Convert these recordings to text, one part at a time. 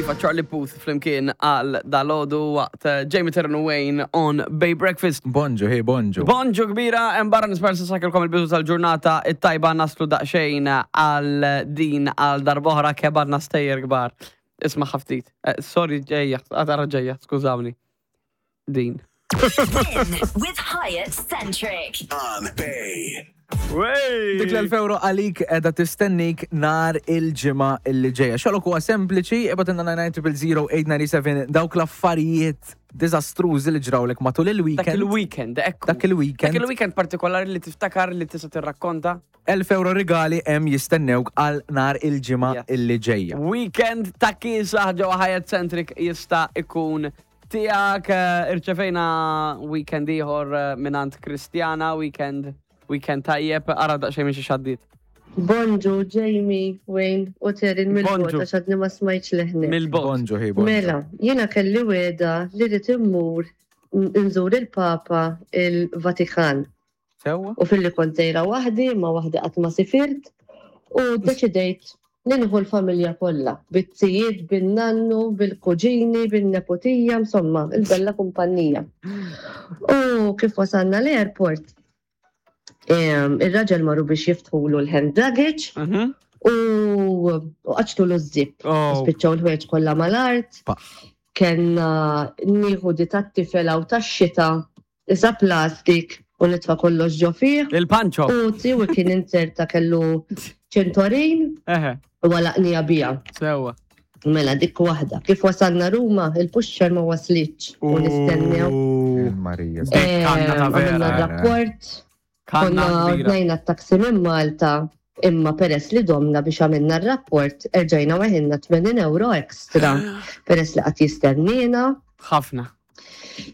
Iva Charlie Puth flimkien għal dalodu waqt eh, Jamie Terran Wayne on Bay Breakfast. Bonġu, hey, bonġu. Bonġu kbira, hemm barra nispera se sakelkom il-bidu tal-ġurnata it-tajba naslu daqsxejn għal din għal darbohra kebadna stejjer kbar. Isma' ħaftit. Eh, sorry ġejja, għadara ġejja, skużawni. Din. Win with Hyatt Centric. On Bay. Dik l-1000 euro għalik edha tistennik nar il-ġimgħa illi ġejja. Xogħlok huwa sempliċi, ibgħatilna 9900897 dawk l-affarijiet diżastrużi li ġrawlek matul Dak il-weekend. il-weekend, ekku. Dak il-weekend. Dak il-weekend partikolari li tiftakar li tista' tirrakkonta. 1000 euro rigali hemm jistennewk għal nar il-ġimgħa Yes. illi ġejja. Weekend ta' kiesaħ ġewwa Hyatt Centric jista' ikun tiegħek. Eh, Irċevejna weekend ieħor eh, mingħand Kristjana, weekend weekend tajjeb, ara daqsxejn minn xi xaddit. Bonġu, Jamie, Wayne u Terin mill-bot Bonġu. għax għadni ma smajtx leħnek. Mill-bot. Bonġu, hey, bonġu. Mela, jiena kelli weda li rrid immur nżur il-Papa il-Vatikan. Sewwa? U filli kont sejra waħdi, ma waħdi qatt ma sifirt, u deċidejt li nieħu l-familja kollha, bit-tijiet, bin-nannu, bil-kuġini, bin-neputija, insomma, il-bella kumpanija. U kif wasalna l-airport, em, ir-raġel marru biex jiftħulu l-hand luggage u u qaċtulu z-zip. Oh. Spiċċaw l-ħwejjeġ kollha mal-art. Pa. Kenna nieħu di tat-tifel hawn tax-xita isa plastik u nitfa' kollox ġo fih. Il-panċo. U tiwi kien inserta kellu ċentorin Eħe, u għalaqnija bija. sewwa. Mela dik waħda. Kif wasalna Ruma, il-pusher ma waslitx u nistennew. Marija. Dik kanna ta' Em, vera. Għamilna rapport, Kanna konna kbira. ordnajna t-taxi minn Malta, imma peress li domna biex għamilna r-rapport, erġajna weħilna 80 euro ekstra peress li qatt jistennina. Ħafna.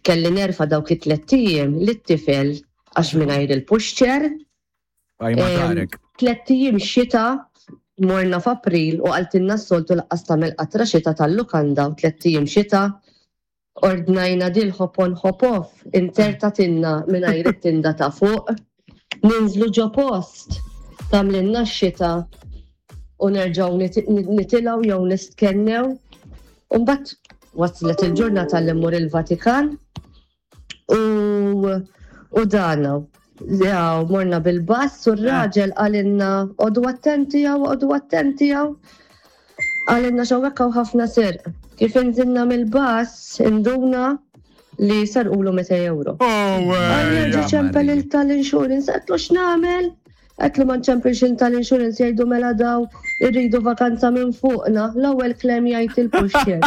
Kelli nerfa dawk it-tlet ijiem lit-tifel għax mingħajr il-pushchair. Għajma Em, darek. Tlett ijiem xita morna f'April u qaltilna s-soltu laqqas tagħmel qatra xita tal-lukanda u tlett ijiem xita ordnajna dil hop on hop off intertatilna mingħajr it-tinda ta' fuq. Ninżlu ġo post tagħmlilna x-xita u nerġgħu nit- nitilgħu jew nistkennew. U mbagħad waslet il-ġurnata li mmur il-Vatikan u u dana. Ja, morna bil-bass u r-raġel għalinna odu attenti għaw, odu attenti għaw. Għalinna xawek għaw ħafna serq. Kif inżilna mill-bass, induna li sarqulu 200 euro. Għalli ċempel Marija. il-tal-insurance, għetlu x'namel? Għetlu ma nċempilx il-tal-insurance jgħidu mela daw irridu vakanza minn fuqna. L-ewwel claim jgħid il-pusher.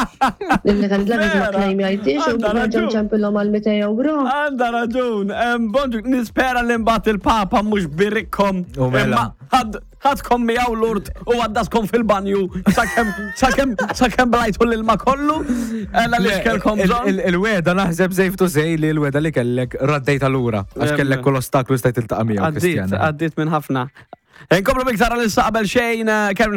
Illi kan dlabiġ ma Vera, claim jgħidix u għandha nerġa' raġun. nċempilhom għal 200 euro. Għanda raġun, Em, bonġu, nispera li mbagħad il-Papa mhux birikkom. U mela. Imma ħad- ħadkom miegħu l-urt u għaddaskom fil-banju sakemm sakemm sakemm blajtu l-ilma kollu. Ella li xkelkom Il- bżonn. il- Il-weda naħseb safe to say li l-weda li kellek raddejta lura. Għax Em. kellek kull ostaklu stajt iltaqa' miegħu, Għaddit, Kristjana. għaddit minn ħafna. Inkomplu biktar għal issa qabel xejn, eh, Kevin